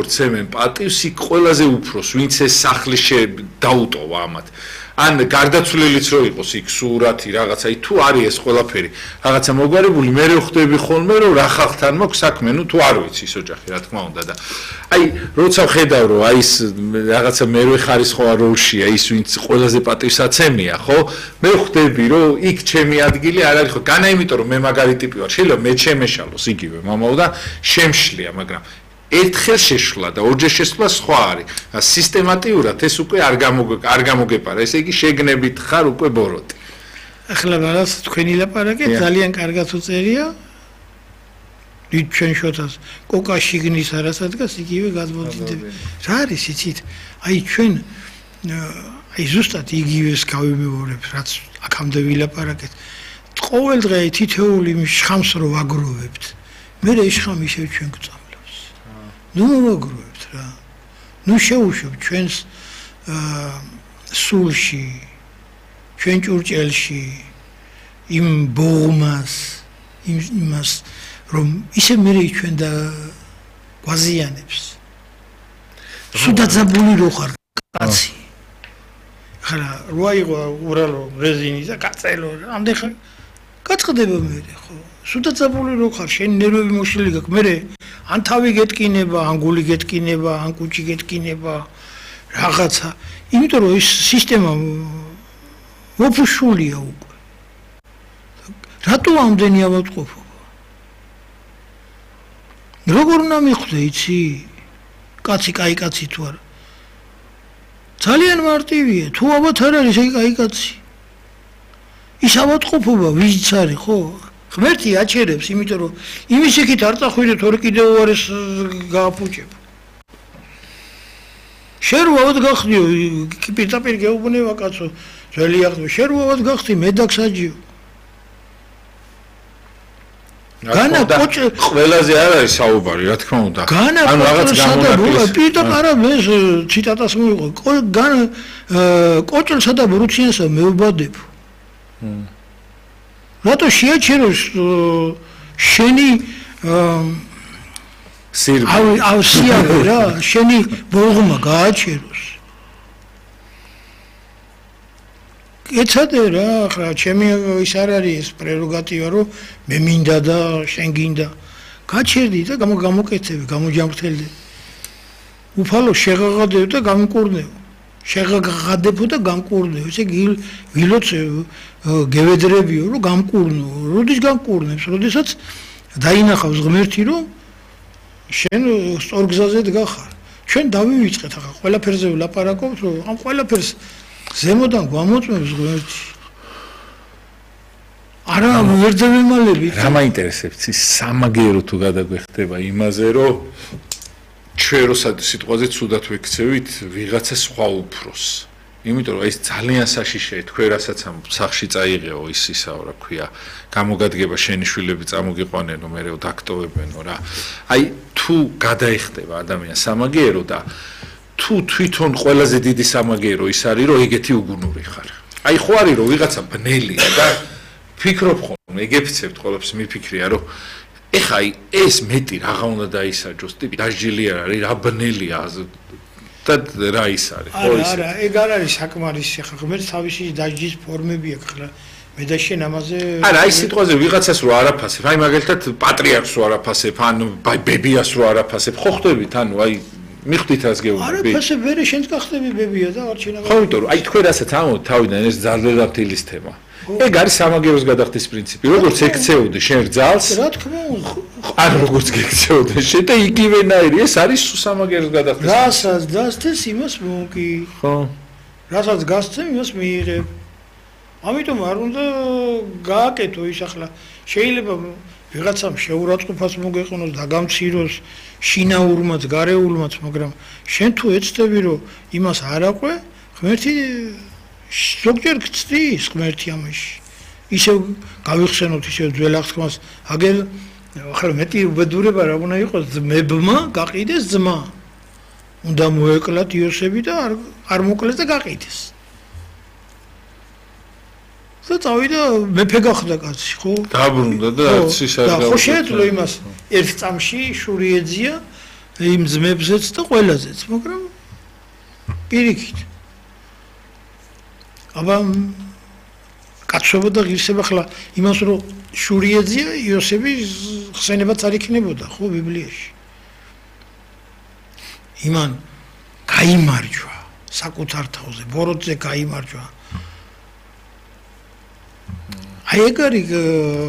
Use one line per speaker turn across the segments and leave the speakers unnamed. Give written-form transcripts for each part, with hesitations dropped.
ცემენ პატივს იქ ყველაზე უფროს ვინც ეს სახლი დაუტოვა ამათ ან გარდაცვლილიც რო იყოს იქ სურათი რაღაცა თუ არის ეს ყველაფერი რაღაცა მოგვარებული მე ვხვდები ხოლმე რომ რა ხალხთან მაქვს საქმე თუ არ ვიცი ის ოჯახი რა თქმა უნდა და აი როცა ვხედავ რომ აი ეს რაღაცა მერვე ხარისხოვან როლშია ის ვინც ყველაზე პატივსაცემია ხო მე ვხვდები რომ იქ ჩემი ადგილი არ არის ხო განა იმიტომ რომ მე მაგარი ტიპი ვარ შეიძლება მე ჩემეშალოს იგივე მამაო და შემშლია მაგრამ ერთხელ შეშლა და ორჯერ შესვლა სხვა არის. სისტემატიურად ეს უკვე არ გამოგეპარა. ესე იგი შეგნებით ხარ უკვე ბოროტი.
ახლა რაღაც თქვენი ლაპარაკი ძალიან კარგად უწერია. დიდ ჩვენ შოთას კოკა შიგნის არასადგას იგივე გადმოდიდები. რა არის იცით? აი ჩვენ აი ზუსტად იგივეს გავიმეორებ, რაც აქამდე ვილაპარაკეთ. ყოველ დღე თითოეული შხამს რო ვაგროვებთ. მე ეს შხამი ისევ ჩვენ გვწამს. ნუ მოგროვებთ რა. ნუ შეუშვებთ ჩვენს სულში, ჩვენ ჭურჭელში იმ ბოღმას, იმას რომ ისე მე ჩვენ და გვაზიანებს. სუდაძაბული რო ხარ კაცი. ხარა რო აიღო ურალო რეზინი და კაწელო ამდენ ხარ გაწყდება მე ხო. სუდაძაბული რო ხარ შენ ნერვები მოშლილი გაქვს მე ან თავი გეტკინება, ან გული გეტკინება, ან კუჭი გეტკინება, რაღაცა. იმიტომ რომ ეს სისტემა მოფუშულია უკვე. რატო ამდენი ავადმყოფობა? როგორ უნდა მიხვდე, იცი? კაცი, კაი კაცი თუ არა. ძალიან მარტივია, თუ ალბათ არ არის ეს კაი კაცი. ის ავადმყოფობა ვიზიც არის, ხო? ღმერთი აჩერებს, იმიტომ რომ იმის იქით არ წახვიდეთ ორი კიდევ უარეს გააფუჭებ. შენ როავად გახდიო, პირდაპირ გეუბნება კაცო, ძველი აღდგა, შენ როავად გახდი მედაქსაჯიო. განა კოჭე
ყველაზე არ არის საუბარი, რა თქმა უნდა.
ან რაღაც გამონაკლისს. პირდაპირ არა ეს ციტატას მოვიყო. განა კოჭელსა და ბრუციანსა მეუბადებ. რატო შეაჩეროს შენი სიავე რა შენი ბოღმა გააჩეროს ეცადე რა ხა ჩემი ის არ არის ეს პრეროგატივა რომ მე მინდა და შენ გინდა გაჩერდი და გამოკეთები გამოჯამრთელდი უფალო შეღაღადებ და გამკურნევ შეღაღადებო და გამკურნევ ესე ვილოც გევედრებიო რომ გამკურნო როდის გამკურნებს როდესაც დაინახავს ღმერთი რომ შენ სწორ გზაზე დგახარ ჩვენ დავივიწყეთ ახლა ყველაფერზე ვლაპარაკობთ რომ ამ ყველაფერს ზემოდან გვამოწმებს ღმერთი არა ვერ დავემალებით
რა მაინტერესებს ის სამაგერო თუ გადაგვეხდება იმაზე რომ ჩვენ როცა სიტყვაზე ცუდად ვექცევით ვიღაცა სხვა უფროს იმიტომ რომ ეს ძალიან საშიშია თქვენ რასაც ამ სახში წაიღეო ისაო რა ქვია გამოგადგება შენი შვილები წამოგიყვანენო მე რო დაქტოვებენო რა აი თუ გადაიხდება ადამიანს სამაგერო და თუ თვითონ ყველაზე დიდი სამაგერო ის არის რომ ეგეთი უგუნური ხარ აი ხო არის რომ ვიღაცა ბნელია და ფიქრობ ხოლმე ეგეფიცებთ ყოველთვის მიფიქრია რომ ეხა ეს მეტი რაღა უნდა დაისაჯოს ტიპი დასჯილი არ არის რა ბნელია და რა ის არის
ხო ის არა ეგ არ არის საკმარისი ხა ღმერთს თავისი დასჯის ფორმები აქვს ხა მე და შენ ამაზე
არა აი სიტყვაზე ვიღაცას რო არაფასებ აი მაგალითად პატრიარქს რო არაფასებ ან ბებიას რო არაფასებ ხო ხვდებით ანუ აი მიხვდით რას გეუბნები
არაფასებ ვერე შენც გახდები ბებია და არ შეიძლება
ხო იმიტომ რომ აი თქვენ რასაც ამბობთ თავიდან ეს ძალდადაფთილის თემა ეგ არის სამაგეროს გადახდის პრინციპი როგორც ექცეოდე შენ რძალს
რა თქმა უნდა
არ როგორც გექცეოდე შენ და იგივენაირი ეს არის სამაგეროს გადახდის
რასაც დასთეს იმას მოკი
ხო
რასაც გასცემ იმას მიიღებ ამიტომ არ უნდა გააკეთო ის ახლა შეიძლება ვიღაცამ შეურაცხყოფას მოგეყნოს დაგამციროს შინაურმაც გარეულმაც მაგრამ შენ თუ ეცდები რომ იმას არ აყვე ღმერთი ზოგჯერ გწდის ღმერთი ამაში ისევ გავიხსენოთ ისევ ძველ აღთქმას აგერ ახლა მეტი უბედურება რა უნდა იყოს ძმებმა გაყიდეს ძმა უნდა მოეკლათ იოსები და არ მოკლეს და გაყიდეს და წავიდა მეფე გახდა კაცი ხო
დაბრუნდა და არც ის არ
და ხო შეეძლო იმას ერთ წამში შური ეძია იმ ძმებზეც და ყველაზეც, მაგრამ პირიქით. აბა კაცობა და ღირსება ხლა იმას რომ შური ეძია იოსების ხსენებაც არ იქნებოდა ხო ბიბლიაში. იმან გაიმარჯვა საკუთარ თავზე, ბოროტზე გაიმარჯვა. აი ეგ არის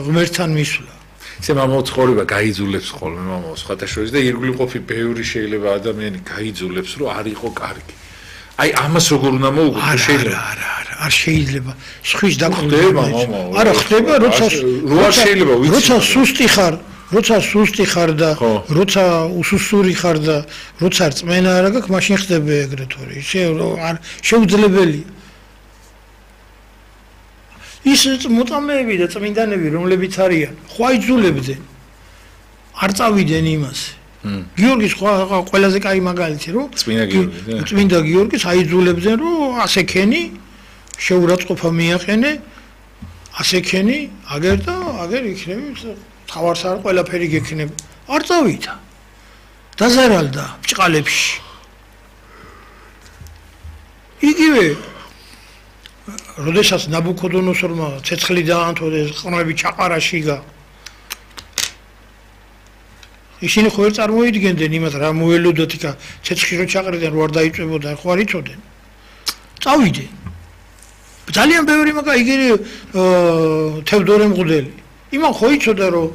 ღმერთთან მისვლა.
ესე მამაო ცხოვრება გაიძულებს ხოლმე მამაო სხვათა შორის და ირგვლივ ყოფი ბევრი შეიძლება ადამიანი გაიძულებს რომ არ იყო კარგი. აი ამას როგორ უნდა მოუგო შეიძლება? არ
შეიძლება. სხვის დაკვირვება. არა ხდება როცა სუსტი ხარ, და როცა უსუსური ხარ და როცა რწმენა არ აქვს, მაშინ ხდება ეგრეთ ორი. არ შეუძლებელია. ის მოწამეები და წმინდანები რომლებიც არიან, ხო აიძულებდნენ. არ წავიდნენ იმასე. გიორგის ყველაზე კაი მაგალითი რომ წმინდა გიორგის აიძულებდნენ რომ ასე ქენი შეურაცხყოფა მიაყენე ასე ქენი აგერ და აგერ იქნები თავარს არ ყველაფერი გექნება არ წავიდა დაზარალდა ბჭყალებში იგივე როდესაც ნაბუქოდონოსორმა ცეცხლი დაანთო და ყრმები ჩაყარაში გა ისინი ხო არ წარმოიდგენდნენ იმას რა მოელოდოთ იქა ცეცხლი რო ჩაყრიდნენ რო არ დაიწვებოდა ხო არ იცოდნენ წავიდნენ ძალიან ბევრი მაგა იგივე თევდორე მღვდელი იმან ხო იცოდა რომ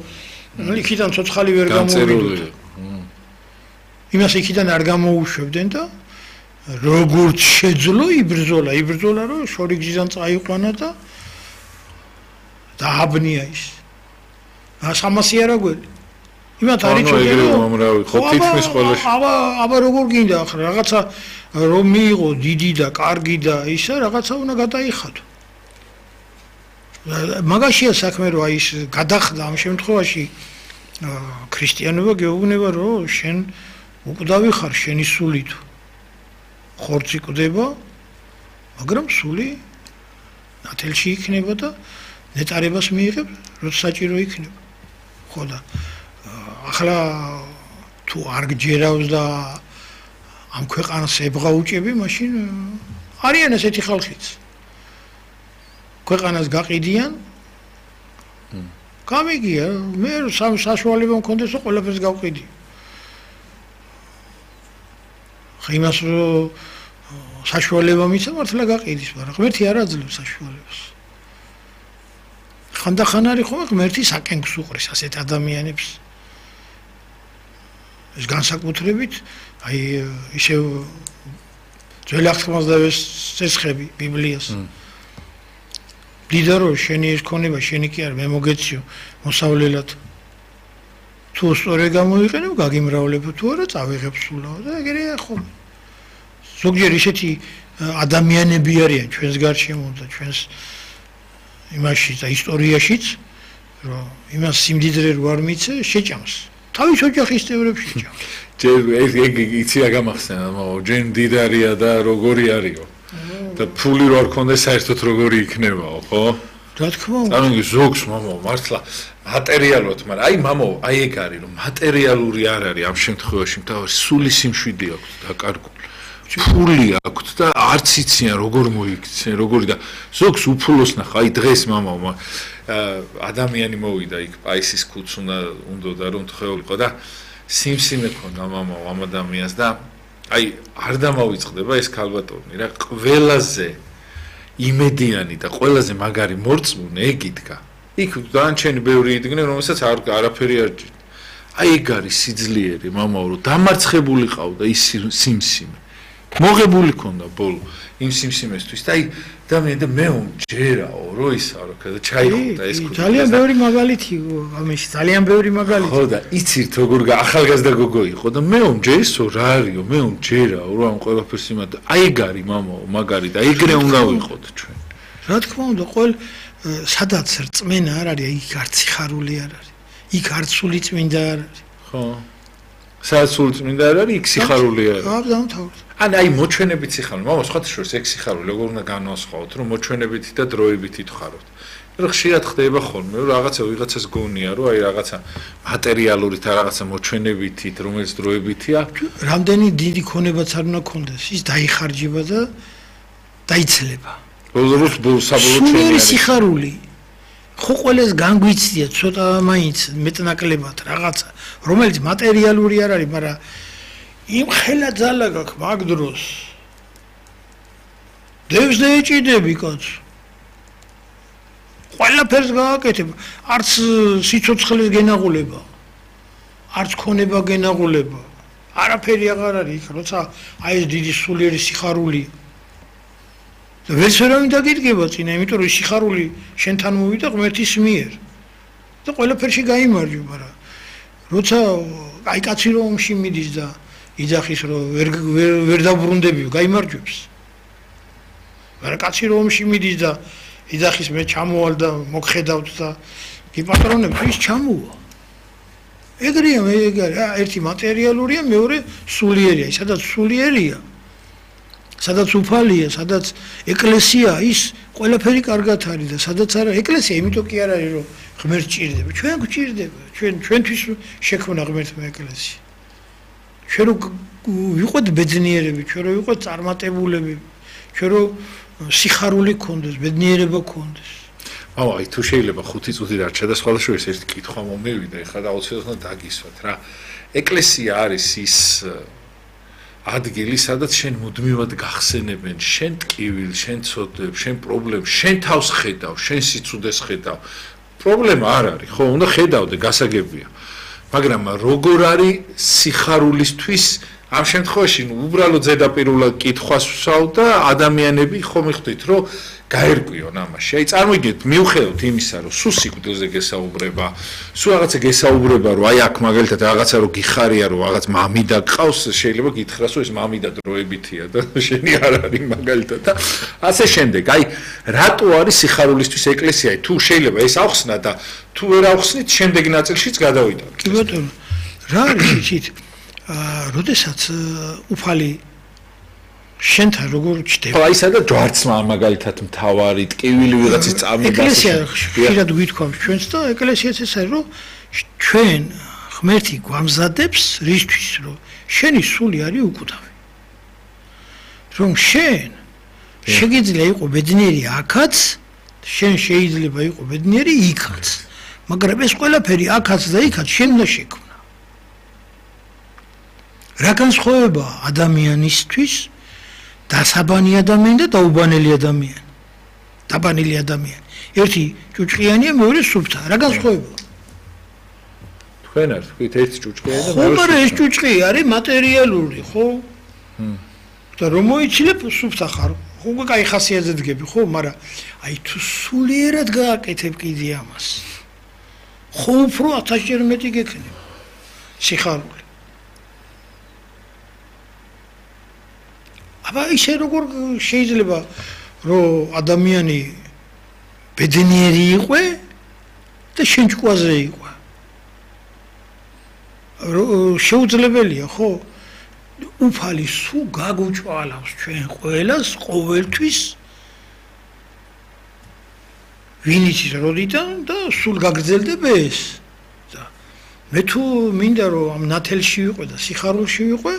იქიდან ცოცხალი ვერ გამოვიდოდა იმას იქიდან არ გამოუშვებდნენ და როგორც შეძლო იბრძოლა რომ შორი გზიდან წაიყვანა და დააბნია ის 300 არაგველი იმათ არ იცოდნენ აბა როგორ გინდა ახლა რაღაცა რომ მიიღო დიდი და კარგი და ისა რაღაცა უნდა გადაიხადო მაგაშია საქმე რომ აი ის გადახდა ამ შემთხვევაში ქრისტიანობა გეუბნება რომ შენ უკვდავი ხარ შენი სულით ხორცი კვდება მაგრამ სული ნათელში იქნება და ნეტარებას მიიღებ როცა საჭირო იქნება ხო და ახლა თუ არ გჯერავს და ამ ქვეყანას ებღაუჭები მაშინ არიან ესეთი ხალხიც ქვეყანას გაყიდიან გამიგია მე საშუალება მქონდეს რომ ყველაფერს გავყიდი იმას რომ საშუალება მიცა მართლა გაყიდის მაგრამ ღმერთი არ აძლევს საშუალებას ხანდახან არის ხოლმე ღმერთი საკენკს უყრის ასეთ ადამიანებს ეს განსაკუთრებით აი ისე ძველი აღთქმას და წესხები ბიბლიას დიდარო შენი ეს ქონება შენი კი არ მე მოგეციო მოსავლელად თუ სწორე გამოიყენებ გაგიმრავლებ თუ არა წავიღებ სულაო და ეგრეა ხოლმე ზოგჯერ ისეთი ადამიანები არიან ჩვენს გარშემო და ჩვენს იმაში და ისტორიაშიც რომ იმას სიმდიდრე რო არ მიცე შეჭამს თავის ოჯახის წევრებს შეჭამს
ეგ იცი რა გამახსენა ჯერ მდიდარია და როგორი არისო და ფული რო არ ქონდეს საერთოდ როგორი იქნებაო ხო
რა თქმა უნდა
ანუ ზოგს მამო მართლა მატერიალურად მაგრამ აი მამო აი ეგ არის რომ მატერიალური არ არის ამ შემთხვევაში თავისი სული სიმშვიდე აქვს დაკარგული ფული აქვს და არც იციან როგორ მოიქცენ როგორი და ზოგს უფულოს ნახა აი დღეს მამო ადამიანი მოვიდა იქ პაისის ქუდს უნდა რომ თხეულიყო და სიმსიმე ქონდა მამო ამ ადამიანს და აი არ დამავიწყდება ეს ქალბატონი რა ყველაზე იმედიანი და ყველაზე მაგარი მორწმუნე ეგ იდგა იქ დანარჩენი ბევრი იდგნენ რომელსაც არაფერი არ ჭირდა აი ეგ არის სიძლიერე მამაო რომ დამარცხებული ყავდა ის სიმსიმე მოღებული ქონდა ბოლო იმ სიმსიმესთვის და აი ადამიანი და მე უმჯერაო რო ისა რა და ჩაიხუტა ეს ქუდი
ძალიან ბევრი მაგალითი ამაში ძალიან ბევრი მაგალითი
ხო და იცით როგორ ახალგაზრდა გოგო იყო და მე უმჯერისო რა არისო მე უმჯერაო რომ ამ ყველაფერს იმად აი ეგ არის მამაო მაგარი და ეგრე უნდა ვიყოთ ჩვენ
რა თქმა უნდა ყოველ სადაც რწმენა არ არის იქ არც სიხარული არ არის იქ არც სული წმინდა არ არის
ხო სადაც სული წმინდა არ არის იქ სიხარული არ არის
აა დამთავრდა
აი მოჩვენებით სიხარული, მამա სხვათა შორის ეგ სიხარული როგორ უნდა განვასხვაოთ, რომ მოჩვენებითი და დროებითი თქვაროთ. რა ხშირად ხდება ხოლმე, რომ ვიღაცას გონია, რომ აი რაღაცა მატერიალურით, რაღაცა მოჩვენებითით, რომელიც დროებითია,
რამდენი დიდი ქონებაც არ უნდა კონდეს, ის დაიხარჯება და დაიცლება.
საბოლოო
სიხარული. ხო ყველას განგვიცდია ცოტა მაინც მეტნაკლებად რაღაცა, რომელიც მატერიალური არ არის, მაგრამ იმ ხელა ძალა გაქვს მაგ დროს. დევს დაეჭიდები კაც. ყველაფერს გააკეთებ, არც სიცოცხლეს გენაღულება, არც ქონება გენაღულება. არაფერი აღარ არის იქ, როცა აი ეს დიდი სულიერი სიხარული. ვერც ვერავინ დაგიდგება წინა, იმიტომ რომ სიხარული შენთან მოვიდა ღმერთის მიერ. და ყველაფერში გაიმარჯვა, მაგრამ როცა აი კაცი რომ ომში მიდის და იძახის რომ ვერ დაბრუნდები, გაიმარჯვებს. მაგრამ კაცი რომ ომში მიდის და იძახის მე ჩამოვალ და მოგხედავთ და გიპატრონებ, ის ჩამოვა. ეგრეა მე ერთი მატერიალურია, მეორე სულიერია, სადაც სულიერია. სადაც უფალია, სადაც ეკლესია ის ყველაფერი კარგად არის და სადაც არა ეკლესია, იმიტომ კი არ არის რომ ღმერთს ჭირდება. ჩვენ გვჭირდება, ჩვენთვის შექმნა ღმერთმა ეკლესია. ჩვენ რო ვიყოთ ბედნიერები, ჩვენ რო ვიყოთ წარმატებულები, ჩვენ რო სიხარული გქონდეს, ბედნიერება გქონდეს.
აი თუ შეიძლება 5 წუთი დარჩა და სხვა შორის ერთი კითხვა მომევიდა, ეხლა და აუცილებლად დაგისვათ რა. ეკლესია არის ის ადგილი, სადაც შენ მუდმივად გახსენებენ, შენ ტკივილს, შენ ცოდებს, შენ პრობლემებს, შენ თავს ხედავ, შენ სიცუდეს ხედავ. პრობლემა არ არის, ხო, უნდა ხედავდე, გასაგებია. მაგრამ როგორ არის სიხარულისთვის ამ შემთხვევაში უბრალოდ ზედაპირულად კითხვას ვსვავ და ადამიანები ხომ იხდით, რომ გაერკვიონ ამაში. აი წარმოგიდგენთ, მიუხედავად იმისა, რომ სულ სიკვდილზე გესაუბრება, სულ რაღაცა გესაუბრება, რომ აი აქ მაგალითად რაღაცა რომ გიხარია, რომ რაღაც მამიდა გყავს, შეიძლება გითხრას, რომ ეს მამიდა დროებითია და შენი არ არის მაგალითად და ასე შემდეგ. აი რატო არის სიხარულისთვის ეკლესია? თუ შეიძლება ეს ახსნა და თუ ვერ ახსნით, შემდეგ ნაწილშიც გადავიტანოთ.
კი ბატონო, რა არის იცით? როდესაც უფალი შენთან როგორ ჩდება?
აი სადაც ჯვარცმა მაგალითად მთავარი ტკივილი ვიღაცის წამი
ეკლესია ხშირად გვითქვამს ჩვენს და ეკლესიაც ეს არის რომ ჩვენ ღმერთი გვამზადებს რისთვის რომ შენი სული არის უკუთავი. რომ შენ შეგიძლია იყო ბედნიერი აქაც, შენ შეიძლება იყო ბედნიერი იქაც. მაგრამ ეს ყველაფერი აქაც და იქაც შენ უნდა შექმნა. რა განსხვავება ადამიანისთვის დასაბანი ადამიანი და დაუბანელი ადამიანი. დაბანელი ადამიანი. ერთი ჭუჭყიანია, მეორე სუფთა. რა განსხვავება?
თქვენ არ თქვით ერთი ჭუჭყია და
მეორე. ხო, მაგრამ ეს ჭუჭყი არის მატერიალური, ხო? და რომ მოიცილებ სუფთა ხარ. ხო, კაი ხასიათზე დგები, ხო, მაგრამ აი თუ სულიერად გააკეთებ კიდე ამას. ხო, უფრო 1000-ჯერ მეტი გექნება. სიხარული. აბა ისე როგორ შეიძლება რომ ადამიანი ბედნიერი იყო და შენ ჭკვაზე იყო. შეუძლებელია ხო? უფალი სულ გაგუჭვალავს ჩვენ ყველას ყოველთვის ვინ იცის როდიდან და სულ გაგრძელდება ეს. და მე თუ მინდა რომ ამ ნათელში ვიყო და სიხარულში ვიყო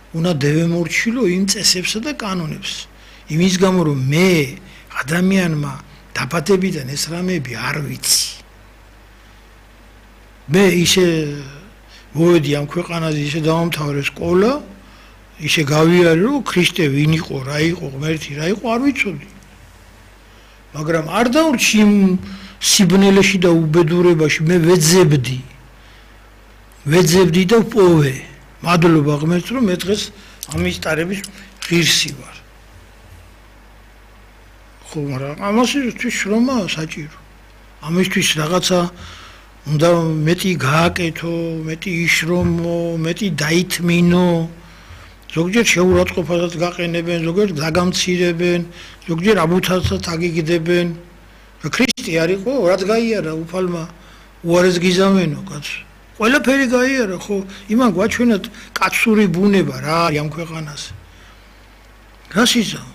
უნდა დევემორჩილო იმ წესებსა და კანონებს. იმის გამო რომ მე ადამიანმა დაბადებიდან ეს რამეები არ ვიცი. მე ისე მოვედი ამ ქვეყანაზე, ისე დავამთავრე სკოლა, ისე გავიარე რომ ქრისტე ვინ იყო, რა იყო, ღმერთი რა იყო, არ ვიცოდი. მაგრამ არ დავრჩი იმ სიბნელეში და უბედურებაში, მე ვეძებდი და ვპოვე. მადლობა ღმერთს რომ მე დღეს ამის ტარების ღირსი ვარ. ხო, მაგრამ ამასთვის შრომა საჭირო. ამისთვის რაღაცა უნდა მეტი გააკეთო, მეტი იშრომო, მეტი დაითმინო. ზოგჯერ შეურაცხყოფასაც გაყენებენ, ზოგჯერ დაგამცირებენ, ზოგჯერ აბუთასაც აგიგდებენ. ქრისტე არ იყო, რაც გაიარა უფალმა უარეს გიზამენო კაცო. ყველაფერი გაიარა ხო? იმან გვაჩვენათ კაცური ბუნება რა არის ამ ქვეყანაზე. რას იზამ?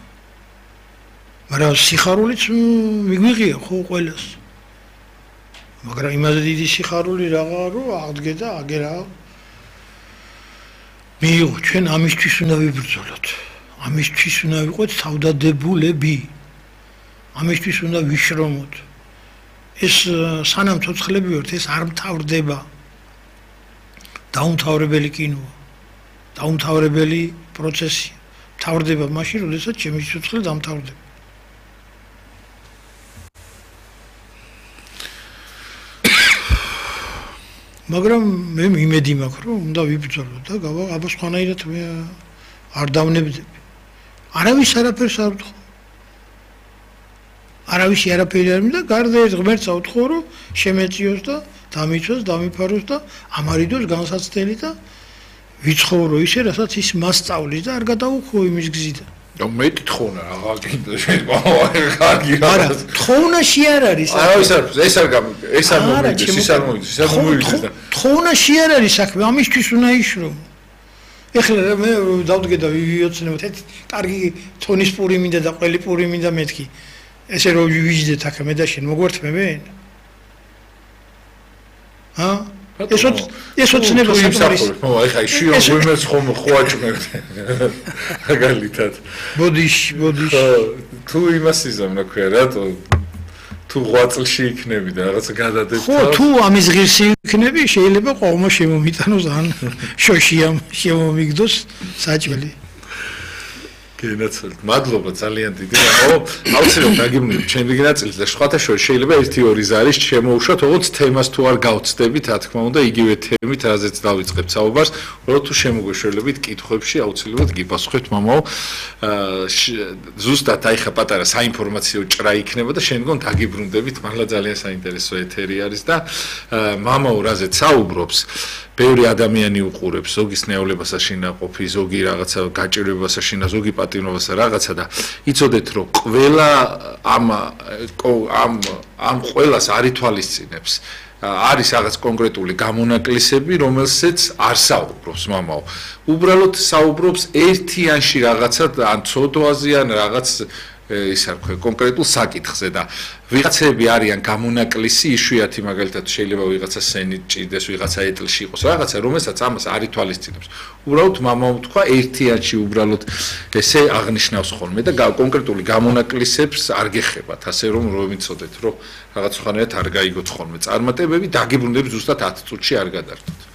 მაგრამ სიხარულიც მიგვიღია ხო ყველას. მაგრამ იმაზე დიდი სიხარული რაღა რომ აღდგე და აგერა. მიიღო ჩვენ ამისთვის უნდა ვიბრძოლოთ. ამისთვის უნდა ვიყოთ თავდადებულები. ამისთვის უნდა ვიშრომოთ. ეს სანამ ცოცხლები ვართ, ეს არ მთავრდება. დაუმთავრებელი კინოა. დაუმთავრებელი პროცესია. მთავრდება მაშინ, როდესაც ჩემი ცოცხლი დამთავრდება. მაგრამ მე იმედი მაქვს, რომ უნდა ვიბრძოლო და აბა სხვანაირად მე არ დავნებდები. არავის არაფერს არ ვთხოვ. არავისი არაფერი არ მინდა, გარდა ეს ღმერთს ავთხოვ, რომ შემეწიოს და დამიცვას, დამიფაროს და ამარიდოს განსაცდელი და ვიცხოვრო ისე, რასაც ის მასწავლის და არ გადაუხო იმის გზიდან.
და მეტი თხოვნა რაღა კიდე შეიძლება
არა, თხოვნაში არ არის.
არავის არ ეს არ ეს არ მომიდეს, ის არ მომიდეს, ის არ მომიდეს და
თხოვნაში არ არის საქმე, ამისთვის უნდა იშრომო. ეხლა მე დავდგე და ვიოცნებოთ, კარგი თონის პური მინდა და ყველი პური მინდა მეთქი. ესე რომ ვიჯდეთ აქ მე და შენ მოგვერთმებენ? ჰა? ესოც ნება საკმარის.
ეხლა შიო ვიმერს ხომ ხვაჭმევ. მაგალითად.
ბოდიში.
თუ იმას იზამ რა ქვია, რატო თუ 8 წელში იქნები და რაღაც გადადებ თავს.
ხო, თუ ამის ღირსი იქნები, შეიძლება ყომა შემომიტანოს ან შოშიამ შემომიგდოს საჭმელი.
გენაცვალეთ. მადლობა ძალიან დიდი. აუცილებლად დაგიმნებით ჩემი ნაწილი და სხვათა შორის შეიძლება 1-2 ზარის შემოუშვათ, როგორც თემას თუ არ გავცდებით, რა თქმა უნდა, იგივე თემით, რაზეც დავიწყებთ საუბარს, უბრალოდ თუ შემოგვეშველებით კითხვებში, აუცილებლად გიპასუხებთ მამაო. ზუსტად აი ხა პატარა საინფორმაციო ჭრა იქნება და შემდგომ დაგიბრუნდებით, მართლა ძალიან საინტერესო ეთერი არის და მამაო რაზეც საუბრობს, ბევრი ადამიანი უყურებს, ზოგის ნეოლებასა შინაყოფი, ზოგი რაღაცა გაჭირვებასა შინა, ზოგი პატიმრობასა რაღაცა და იცოდეთ რომ ყველა ამ ყველას არ ითვალისწინებს. არის რაღაც კონკრეტული გამონაკლისები, რომელსაც არ საუბრობს მამაო. უბრალოდ საუბრობს ერთიანში რაღაცა ან ცოდვაზე ან რაღაც ის არ ქვია კონკრეტულ საკითხზე და ვიღაცები არიან გამონაკლისი, იშვიათი მაგალითად შეიძლება ვიღაცა სენით ჭიდეს, ვიღაცა ეტლში იყოს, რაღაცა რომელსაც ამას არ ითვალისწინებს. უბრალოდ მამამ თქვა ერთიანში უბრალოდ ესე აღნიშნავს ხოლმე და კონკრეტული გამონაკლისებს არ გეხებათ, ასე რომ ვიცოდეთ, რომ რაღაც ხანეთ არ გაიგოთ ხოლმე წარმატებები, დაგიბრუნდებით ზუსტად 10 წუთში არ გადართოთ.